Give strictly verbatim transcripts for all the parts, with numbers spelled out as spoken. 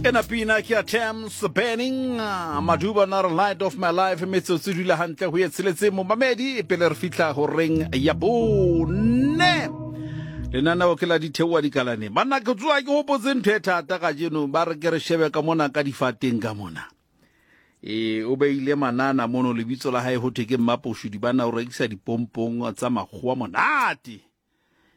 Ena pina ke ya Thames Burning Maduba na re Light of My Life. Metsotso e dula hantle ho ye tsheletseng, momamedi, pele re fihla horeng ya bone. Lenaneo ke la Ditheoa Dikalaneng. Banna, ke tsoa ke hopotse ntho e thata kajeno. Ba re ke re shebe ka mona ka difateng ka mona. E o beile manana mono, lebitso la hae ho thwe ke Mmaposhudi. Bana o rekisa dipompong tsa makgowa monate.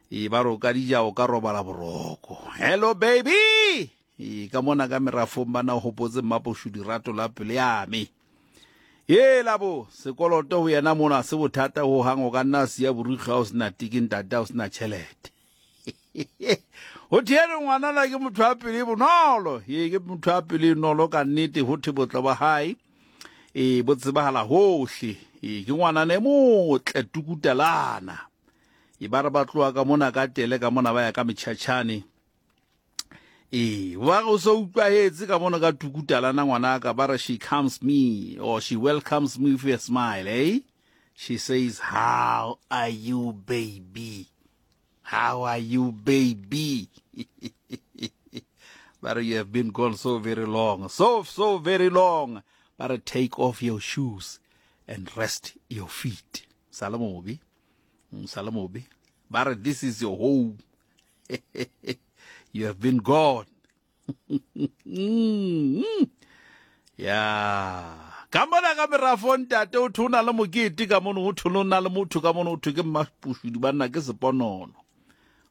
E ba re o ka dija o ka robala boroko. Hello baby. E ka mona ka merafong bana o hopotse Mmaposhudi rato la pele ya me. E labo sekoloto ho yena mona se bothata ho hang, o ka nna siya borikgwe ha o sena tiki, ntate, ha o sena tjhelete. Ho thiere ngwanana ke motho a pele e bonolo. E ke motho a pele e nolo ka nnete. Ho thwe botle ba hae e bo tsebahala hohle. E ke ngwanana e motle tukutalana. E ba re ba tloha ka mona ka tele ka mona ba ya ka metjhatjhane. E ba re o so utlwahetse ka mona ka tukutalana ngwanaka. Ba re she comes me or she welcomes me with a smile, eh? She says, "How are you, baby? How are you, baby?" But you have been gone so very long, so so very long. But take off your shoes and rest your feet. Salamobi. Salamobi. But this is your home. You have been gone. Yeah. Ka mona ka merafo ntate o thwe o na le mokete ka mono, ho thwe o na le motho ka mono, ho thwe ke Mmaposhudi. Banna ke seponono.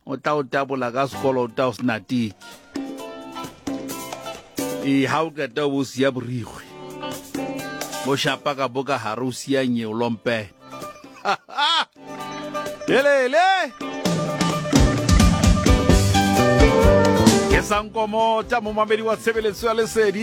O tla o tabola ka sekoloto ha o sena tiki. E ha o qeta o bo siya borikgwe. O shapa ka bo ka hare o siya nyeo lompe. Helele. Ke sankomota momamedi wa tshebeletso ya Lesedi.